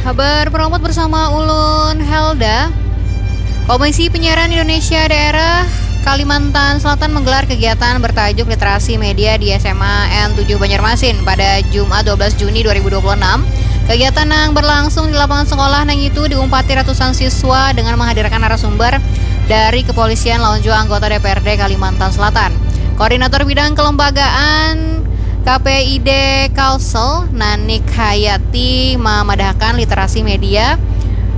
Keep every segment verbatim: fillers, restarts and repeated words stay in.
Habar Perompat bersama ulun Helda. Komisi Penyiaran Indonesia Daerah Kalimantan Selatan menggelar kegiatan bertajuk Literasi Media di S M A N tujuh Banjarmasin pada Jumat dua belas Juni dua ribu dua puluh enam. Kegiatan yang berlangsung di lapangan sekolah nang itu diumpati ratusan siswa dengan menghadirkan narasumber dari kepolisian lawan juga anggota D P R D Kalimantan Selatan. Koordinator Bidang Kelembagaan K P I D Kalsel, Nanik Hayati, memadahakan literasi media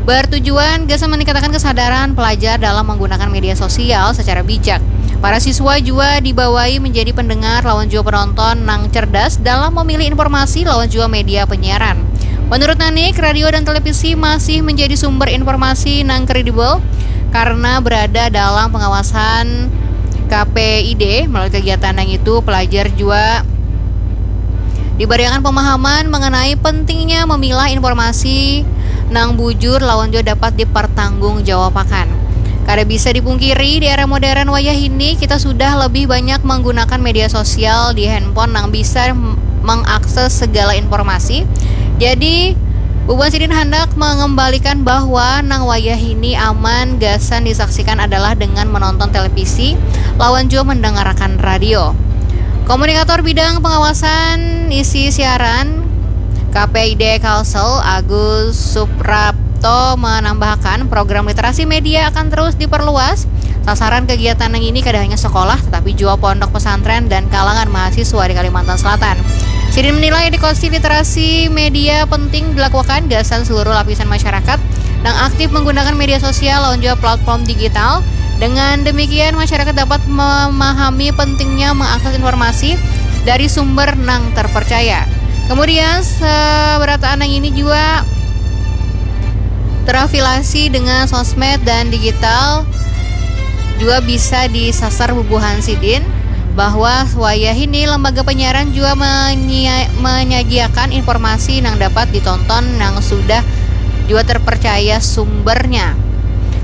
bertujuan gasan meningkatkan kesadaran pelajar dalam menggunakan media sosial secara bijak. Para siswa juga dibawai menjadi pendengar lawan juga penonton nang cerdas dalam memilih informasi lawan juga media penyiaran. Menurut Nanik, radio dan televisi masih menjadi sumber informasi nang kredibel karena berada dalam pengawasan K P I D. Melalui kegiatan yang itu, pelajar juga diberikan pemahaman mengenai pentingnya memilah informasi nang bujur lawan juga dapat dipertanggungjawabkan. Kada bisa dipungkiri, di era modern wayah ini, kita sudah lebih banyak menggunakan media sosial di handphone nang bisa mengakses segala informasi. Jadi, bubuhan sidin hendak mengembalikan bahwa nang wayah ini aman gasan disaksikan adalah dengan menonton televisi lawan juga mendengarkan radio. Komunikator bidang pengawasan isi siaran K P I D Kalsel, Agus Suprapto, menambahkan program literasi media akan terus diperluas. Sasaran kegiatan yang ini kada hanya sekolah, tetapi juga pondok pesantren dan kalangan mahasiswa di Kalimantan Selatan. Sidin menilai edukasi literasi media penting dilakukan gasan seluruh lapisan masyarakat yang aktif menggunakan media sosial lawan juga platform digital. Dengan demikian, masyarakat dapat memahami pentingnya mengakses informasi dari sumber nang terpercaya. Kemudian, seberataan yang ini juga terafiliasi dengan sosmed dan digital juga bisa disasar bubuhan sidin bahwa wayah ini lembaga penyiaran juga menyia- menyajiakan informasi yang dapat ditonton yang sudah juga terpercaya sumbernya.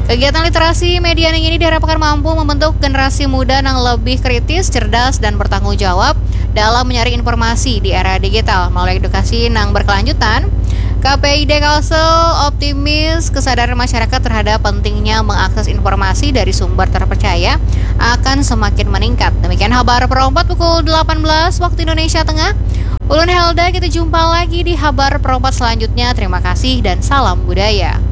Kegiatan literasi media yang ini diharapkan mampu membentuk generasi muda yang lebih kritis, cerdas, dan bertanggung jawab dalam menyaring informasi di era digital. Melalui edukasi yang berkelanjutan, K P I D Kalsel optimis kesadaran masyarakat terhadap pentingnya mengakses informasi dari sumber terpercaya akan semakin meningkat. Demikian Habar Perompat pukul delapan belas waktu Indonesia Tengah. Ulun Helda, kita jumpa lagi di Habar Perompat selanjutnya. Terima kasih dan salam budaya.